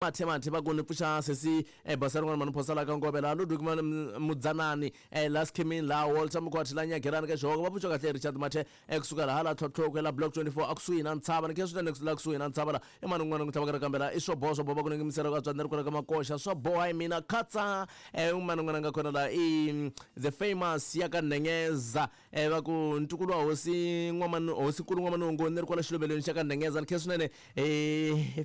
Mathe mathe va ku ni pfuxa sesi basa rin'wana mani phosa la ka ngove laha Ludwig Mudzanani la Skhimini laha Walter Mkhwathi la Nyagerani ka Xihoko va pfuxa kahle Richard Mathe kusuka laha la Tlhotlhoko la Block 24 akusuhi na ntshava ni khe swinene la kusuhi na ntshava la i mani un'wana ku tlhavaka ra kambe la i swo boha swo boha va ku ni ngimisela ka tswandzi ri kwala ka makoxa swo boha hi mina khatsa un'wana un'wana nga kona la i the famous ya ka Nengeza va ku ntukulu wa hosi n'wamanu hosinkulu n'wamanungu ni ri kwala xiluvelweni xa ka Nengeza ni khe swinene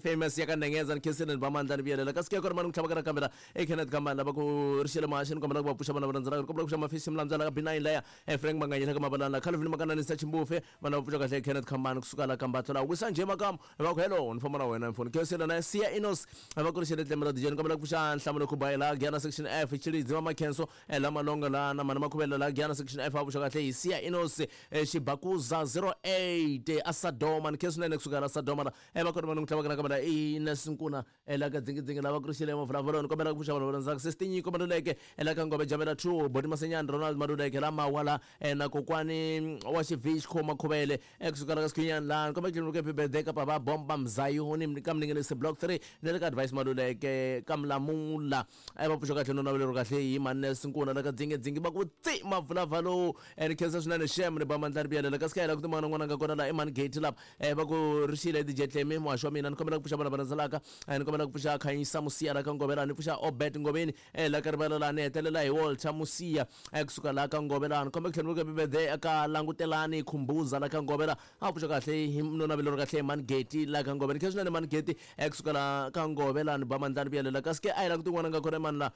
famous ya ka Nengeza ni khensile ni ba mandla ni vuyelela kasi ke kona mani ku tlhavaka nakambe la e Kenneth Kambani lava ku ri xele mahaxi ni kombela ku va pfuxa vana va rhandzanaka ni kombela ku xa mafisi milandzu la ka B9 laya Frank Manganyela ka Mabalani la Calvin Makananisa Chimbufe vana va pfuxa kahle Kenneth Kambani kusuka la Kambatlo la wisa njhe makamu va ku hello ni famba na wena mfoni khensile na Siya Inos va ku ri xele tlemela DJ ni kombela ku pfuxa Nhlamulo Khubayi la Giyana section F Chilidzi wa Makhenso la Malonga la na Mani Makhuvela la Giyana section F va pfuxa kahle hi Siya Inos Xibakuza 08 a Sadoma ni khe swinene kusuka la Sadoma la va kona vanhu tlhavaka na kamera i Nesinkuna la ka dzingidzingi lava ku ri xile mavulavuloni ni kombela ku pfuxa vanhu va rhandzaka sesi Tinyiko Maluleke la ka Ngove Jamela 2 Boti Masenyani Ronald Maluleke la Mawa la na kokwani wa Xivixco Makhuvele kusuka la ka Sikhinyani la ni kombela ku tlhela birthday ka Papa Bomba Mzayoni ka Mninginisi Block 3 ni le ka Advice Maluleke ka Mlamula va pfuxa kahle no naveleriwa kahle hi Mannes Nkuna la ka dzingidzingi va ku tsi mavulavalo ni khensa swinene shem ni ba mandla ri vuyelela kasi ka hela ku timana n'wana nga kona la i mani gate lapa va ku ri xile DJ Tlemi muhaxi wa mina ni kombela ku pfuxa vana va rhandzelaka ni kombela ku pfuxa Khanyisa Musiya la ka Ngovela ni pfuxa Obert Ngoveni la ka rivala la ni hetelela hi Walter Musiya kusuka la ka Ngovela ni kombela ku tlhela ni birthday eka Langutelani Khumbuza la ka Ngovela a pfuxa kahle hi no naveleriwa kahle hi mani Geti la ka Ngovela ni khensa swinene mani Geti kusuka la ka Ngovela ni ba mandla ni vuyelela kasi ke a hi la ku tin'wana nga kona mani la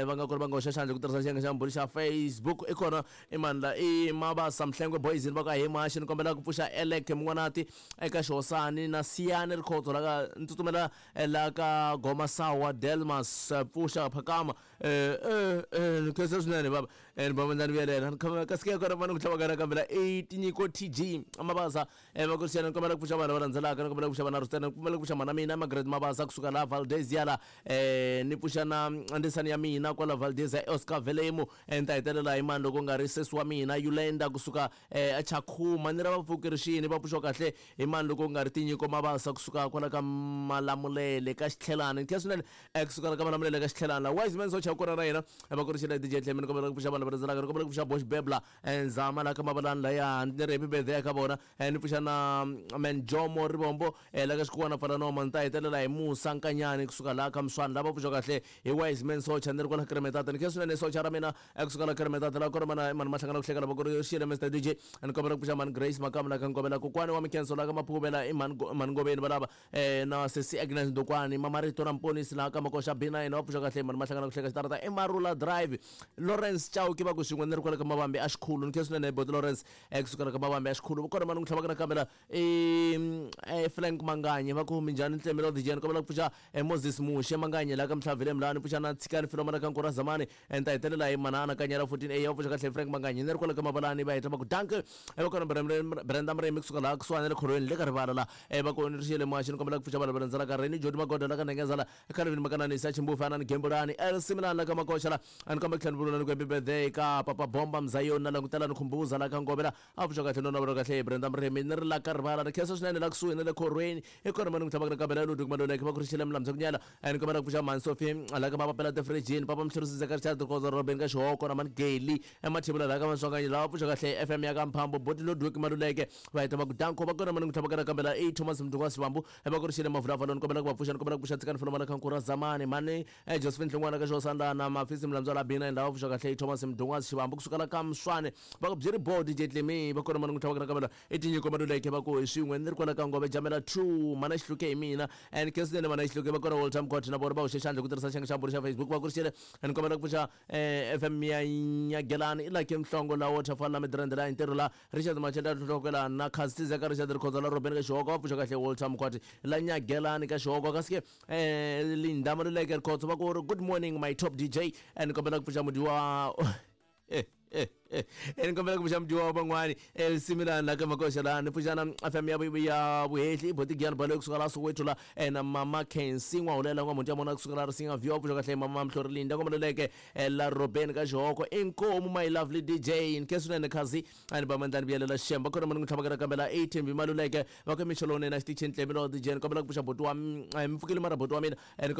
va nga kona va nga hoxa xandla ku tirhisa xiyenge xa mbhuri xa Facebook i kona i mani la i Mabasa Mhlengwe boys ni va ku ahee muhaxi ni kombela ku pfuxa Elek Mun'wanati eka Xihosani na Siyani Rikhotso la ka ni tsutsumela la ka Goma Sawa Delmas pfuxa phakama ni khensa swinene baba ni ba mandla ni vuyelela kasi ke kona mani ku tlhava ka kambe la i Tinyiko TG Mabasa va ku xana ni kombela ku pfuxa vanhu lava landzelaka ni kombela ku pfuxa vana Rustana ni kombela ku pfuxa mhana mina Margaret Mabasa kusuka laha Valdezia la ni pfuxa na ndzisani ya mina kwala Valdezia Oscar Velemu ni ta hetelela hi mani loko nga ri sesi wa mina Yulenda kusuka eChakhuma ni ra vapfukeri va pfuxiwa kahle hi mani loko nga ri Tinyiko Mabasa kusuka kwala ka Malamulele ka Xitlhelani ni khensa swinene kusuka la ka Malamulele ka Xitlhelani la Wise Man Socha kona na yena va ku ri xile DJ Tlemi ni kombela ku pfuxa vanhu lava landzelaka ni kombela ku pfuxa Bosh Bebla Nzama la ka Mabalani laya ni ri happy birthday ka vona ni pfuxa na Menjomo Rivombo la ka Xikuwana Pfalanoma ni ta hetelela hi Musa Nkanyani kusuka laha ka Mswani lava pfuxa kahle hi Wise Man Socha ni ri kwala Kremetata ni khensa swinene socha ra mina kusuka la Kremetata la kona mana mani mahlangana ku hleka lava ku ri xile Mr DJ ni kombela ku pfuxa mani Grace Makamu la ka Ngovela kokwani wa Mikhenso la ka Maphuvela i mani mani Ngoveni valava na sesi Agnes Ndokwani Mamarito na Mponisi la ka Makoxa B9 va pfuxa kahle mani mahlangana ku hleka xitarata i Marula Drive Lawrence Chauke va ku swin'we ni ri kwale ka Mavambi a Xikhulu ni khensa swinene boti Lawrence kusuka la ka Mavambi a Xikhulu kona mani ku tlhavaka nakambe la i Frank Manganye va ku minjhani Ntlemi lo DJ ni kombela ku pfuxa Moses Muxe Manganye la ka Mhlavile Mlani pfuxa na Tshikani Filoma la ka Nkura Zamani ni ta hetelela hi Manana Kanyela 14 A va pfuxa kahle Frank Manganye ni ri kwale ka Mabalani va heta va ku danke va kona Brenda Murimi kusuka laha kusuhani na le khorweni le ka rivala la va ku ni ri xiyele muhaxi ni kombela ku pfuxa vanhu va rhandzelaka Reni Jodi Magoda la ka Nhengeza la Calvin Makananisa Chimbufu Anani Gembulani El Similani la ka Makoxa la a ni kombela ku tlhela ni vula ni ku happy birthday ka Papa Bomba Mzayoni na Langutelani Khumbuza la ka Ngove la a pfuxa kahle no navela kahle Brenda Murimi ni ri la ka rivala ni khensa swinene la kusuhi na le khorweni i kona mani ku tlhavaka nakambe la Ludwig Maluleke va ku ri xile Mlamza Kunyala ni kombela ku pfuxa mhani Sophie la ka Mapapela Tifirijini Papa Mhlurisi Zeka Richard Khoza Robin ka Xihoko na mani Geli eMathebula la ka Maswanganyi lava pfuxa kahle FM ya ka Mphambo Boti Ludwig Maluleke va heta va ku danko va kona mani ku tlhavaka nakambe la i Thomas Mdungwa Sivambu va ku ri xile Mavulavalo ni kombela ku va pfuxa ni kombela ku pfuxa Tsikani Fulomana ka Nkura Zamani mhani Josephine Hlongwana ka Xihosana na Mafisi Mlambyala la B9 lava pfuxa kahle i Thomas Mdungwa Xivambu kusuka la ka Mswane va ku byi ri bo DJ Tlemi va kona mani ku tlhavaka nakambe la i Tinyiko Maluleke va ku hi swin'we ni ri kwala ka Ngove Jamela 2 mhana Xihluke hi mina and khensa mhana Xihluke va kona Walter Mkhwathi na vona va hoxe xandla ku tirhisa xiyenge xa mbhuri xa Facebook va ku ri xile ni kombela ku pfuxa FM ya Nyagelani i Lucky Mhlongo la Waterfall la Midrand la ntirho la Richard Machela Tlhotlhokela na Khazitiza ka Richard Rikhotso la Robin ka Xihoko va pfuxa kahle Walter Mkhwathi la Nyagelani ka Xihoko kasi ke Linda Maluleke Rikhotso va ku ri good morning my top DJ ni kombela ku pfuxa mudyi wa Ni kombela ku pfuxa mudyiwa wa van'wani similani la ka makoxa laha ni pfuxana FM ya vuhehli botigiyani balo kusuka la Soweto la na mama Kensi n'wahulela n'wamuti ya mona kusuka la Risinga View pfuxa kahle mama Mhlorilinda komaluleke la Robeni ka Xihoko inkomu my lovely DJ nkhe swinene khazi a ni ba mandlani vuyelela xemba khona mani n'wi tlhavakela kambe la ATMB maluleke va ka mixo lowunene a xitichini tlemi lo DJ ni kombela ku pfuxa boti wa mi pfukile mara boti wa mina ni kombela.